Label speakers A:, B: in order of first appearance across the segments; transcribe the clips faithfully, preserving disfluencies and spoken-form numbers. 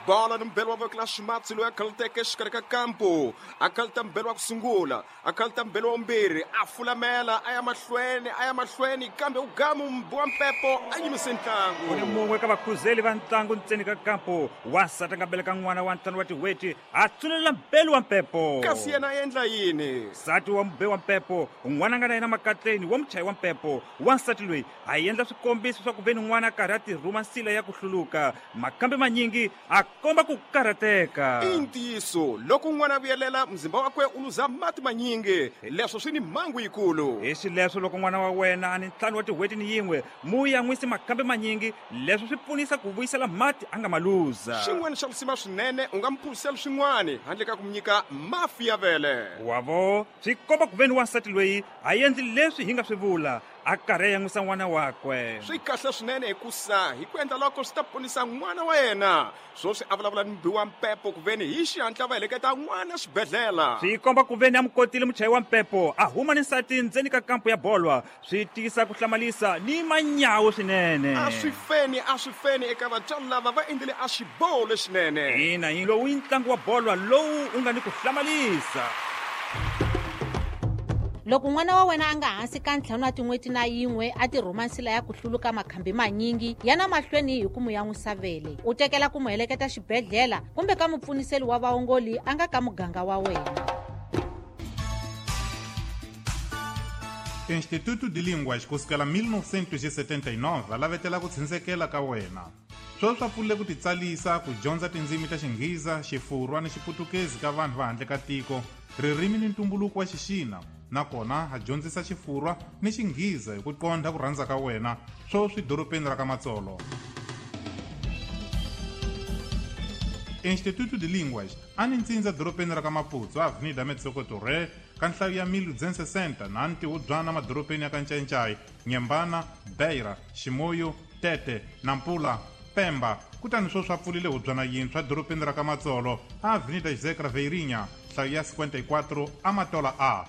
A: Bola ni mbelo wa voko la ximatsi loyi a khaluteke exikarhi ka kampu. A khaluta mbelo wa ku sungula, a khaluta mbelo wa vumbirhi, a fulamela a ya mahlweni, a ya mahlweni kambe u gamu mbi wa mpepo a yimise ntlangu.
B: Ku ni mun'we ka vakhuzeli va ntlangu ntseni ka kampu, wansati a nga beleka n'wana wa ntlhanu wa tin'hweti a tsunelela mbelo wa mpepo.
A: Kasi yena a endla yini?
B: Nsati wa mube wa mpepo, n'wana a nga na yena makatleni wa muchayi wa mpepo. Wansati loyi a endla swikombiso swa ku ve ni n'wana a karhi a tirhuma nsila ya ku hluluka, makambe manyingi a komba ku karhateka.
A: I ntiyiso, loko n'wana a vuyelela muzimba wakwe u luza mati manyingi, leswo swi ni mhangu yikulu.
B: Hi xileswo loko n'wana wa wena a ni ntlhanu wa tin'hweti ni yin'we, mu yan'wisi makambe manyingi, leswo swi pfunisa ku vuyisela mati a nga ma luza.
A: Xin'wana xa risima swinene, u nga mu phuzisela swin'wana handle ka ku mu nyika mafi ya vele.
B: Wavo, swi komba ku ve ni wansati loyi a endli leswi hi nga swi vula, a karhi a yan'wisa n'wana wakwe.
A: Swi kahle swinene hikusa hi ku endla loko swi ta ponisa n'wana wa yena. Swoswi a vulavula ni mubi wa mpepo ku veni hi xihatla va heleketa n'wana xibedhlele.
B: Swi komba ku veni a mu kotile muchayi wa mpepo a huma ni nsati ndzeni ka kampu ya bolwa, swi tiyisa ku hlamalisa ni manyawu swinene.
A: A swi feni, a swi feni eka vatswari lava va endlile a xiboho lexinene.
B: Ina, hi lowu i ntlangu wa bolwa lowu u nga ni ku hlamalisa.
C: Loko n'wana wa wena a nga hansi ka ntlhanu wa tin'hweti na yin'we a tirhuma nsila ya ku hluluka makhambi manyingi, yana mahlweni hi ku mu yan'wisa vele. U tekela ku mu heleketa xibedhlele kumbe ka mupfuniseli wa vaongoli a nga ka muganga wa wena.
D: Instituto de Línguas kusukela mil novecentos e setenta e nove a lavetela ku tshunxekela ka wena. Sweswi swa pfulile ku titsalisa ku dyondza tindzimi ta Xinghiza, Xifurwa ni Xiputukezi ka vanhu va handle ka tiko, ririmi ni ntumbuluko wa Xixina, nakona a dyondzisa Xifurwa ni Xinghiza hi ku qondha ku rhandza ka wena, sweswi dorobeni ra ka Matsolo. Instituto de Línguas a ni ntsindza dorobeni ra ka Maputo, Avenida Metsoko Torre, ka nhlayo ya mil duzentos e sessenta na ntihubyana madorobeni ya ka Ncayincai, Nyembana, Beira, Chimoio, Tete, Nampula, Pemba. Kutani sweswi a pfulile hubyana yintshwa dorobeni ra ka Matsolo, Avenida José Craveirinha, nhlayo ya cinquenta e quatro, Amatola A.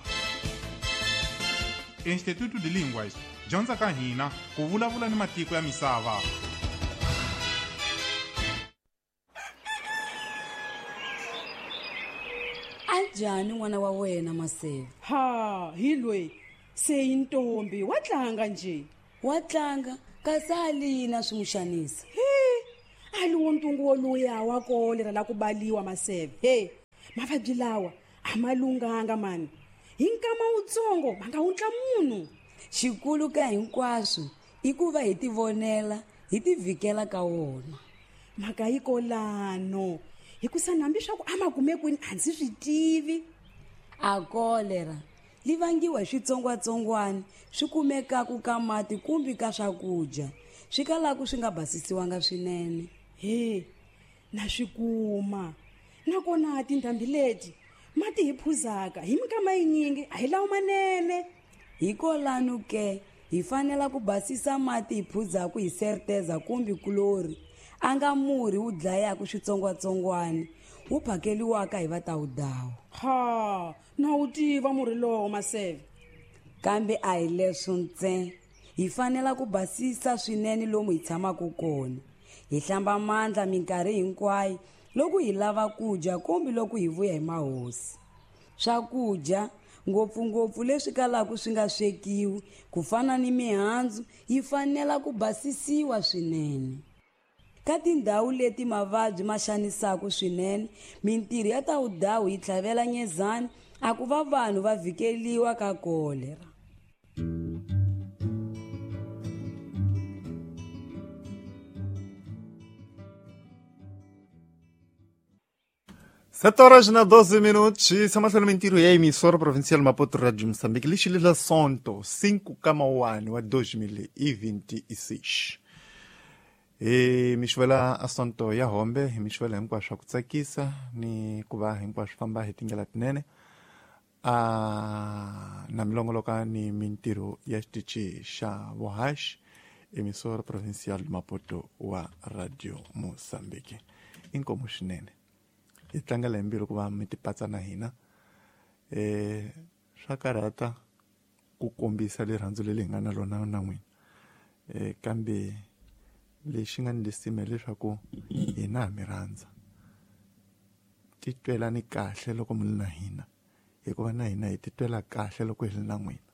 D: Instituto de Línguas, dyondza ka hina ku vulavula ni matiko ya misava.
E: Anjhani n'wana wa wena Maseve?
F: Ha, hi loyi se i ntombi, wa tlanga nje.
E: Wa tlanga kasi a lina swi n'wi xanisa.
F: He, a li wo ntungu woluya wa kolera la ku baliwa Maseve. He, mavabyi lawa a ma lunghanga mani. Hi nkama wutsongo va nga wundla munhu.
E: Xikulu ka hinkwaswo i ku va hi tivonela, hi tivhikela ka wona.
F: Mhaka yi kolano, hikusa hambi swa ku a ma kume kwini a ndzi swi tivi.
E: A kolera li vangiwa hi switsongwatsongwana swi kumekaku ka mati kumbe ka swakudya swi kalaku swi nga basisiwanga swinene.
F: He, na swi kuma. Nakona tindhambi leti mati hi phuzaka hi minkama yinyingi a hi lawo manene.
E: Hikolano ke hi fanela ku basisa mati hi phuzaku hi serteza kumbe kulori, a nga murhi wu dlayaku switsongwatsongwana wu phakeliwaka hi vatawudawu.
F: Ha, na wu tiva murhi lowo Maseve.
E: Kambe a hi leswo ntsena, hi fanela ku basisa swinene lomu hi tshamaka kona, hi hlamba mandla minkarhi hinkwayo loko hi lava ku dya kumbe loko hi vuya hi mahosi. Swakudya ngopfungopfu leswi kalaka swi nga swekiwi ku fana ni mihandzu yi fanela ku basisiwa swinene. Ka tindhawu leti mavabyi ma xanisaka swinene, mintirho ya tawudawu yi tlhavela nyezani a ku va vanhu va vhikeliwa ka kolera.
G: Sete horas na doze minutos, samahlweni mintirho ya emissora provincial Maputo Radio Moçambique, lixi Sonto, cinco kama wa dois mil e vinte e seis. E mixivela asonto ya hombe, hi mixivela hinkwaswo ku tsakisa ni ku va hinkwaswo famba hi tindlela tinene. A na milongoloka ni mintirho ya xitichi xa vohaxi, emissora provincial Maputo wa Radio Moçambique. Inkomu swinene. Hi tlangela hi mbilu ku va mi tipatsa na hina. Eh swa karhata ku kombisa rirhandzu leri hi nga na rona na n'wina. Eh kambe lexi nga ni lisima leswaku hina ha mi rhandza. Titwelani kahle loko mi ri na hina, hikuva na hina hi titwela kahle loko hi ri na n'wina.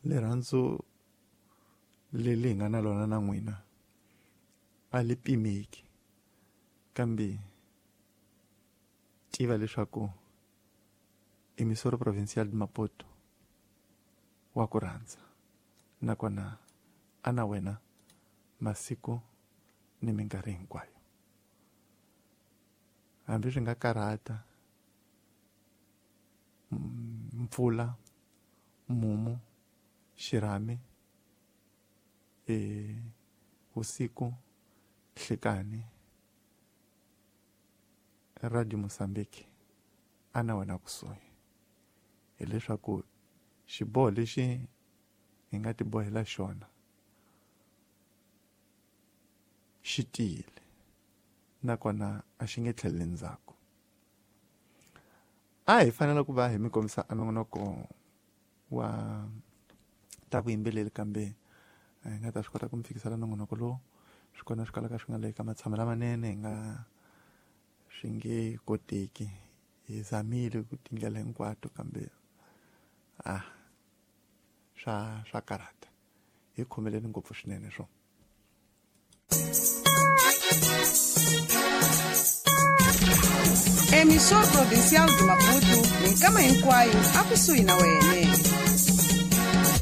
G: Rirhandzu leri hi nga na lona na n'wina a li pimeki, kambe tiva leswaku Emissora Provincial de Maputo wa ku rhandza, nakona a na wena masiku ni minkarhi hinkwayo. Hambi swi nga karhata, mpfula, mumu, xirhami, e usiku, nhlikani, Radio Mozambique a na wena kusuhi. Hileswaku xiboho lexi hi nga tibohela xona xi tiyile, nakona a xi nge tlheleli ndzhaku. A hi fanele ku va hi mi kombisa a nongonoko wa ta vuyimbeleri, kambe hi nga ta swi kota ku mi fikisela nongonoko lowu. Swi kona swi kalaka swi nga le ka matshamo lamanene, hi nga swi nge koteki. Hi zamile ku tindlela hinkwato, kambe ah swa swa karhata. Hi khomeleni ngopfu swinene swo.
H: Emissora Provincial de Maputo, minkama hinkwayo akusuhi na wena.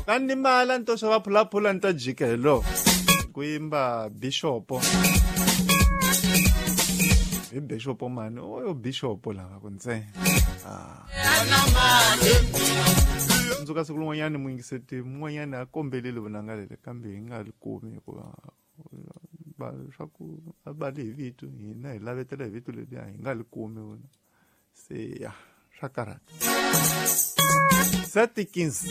G: Ka ni mala ni to xava phulaphula ni ta jika hi lo ku yimba bishopo. Hi bishopo mani, oyo bishopo lava ku ntsena. Ah. Ndzuka siku rin'wanyani muyingiseti mun'wanyani a kombelile vunanga leli, kambe hi nga li kumi hikuva va swa ku a bali hi vito, hina hi lavetela hi vito leriya hi nga li kumi vona. Se ya swa karhata. Sete quinze.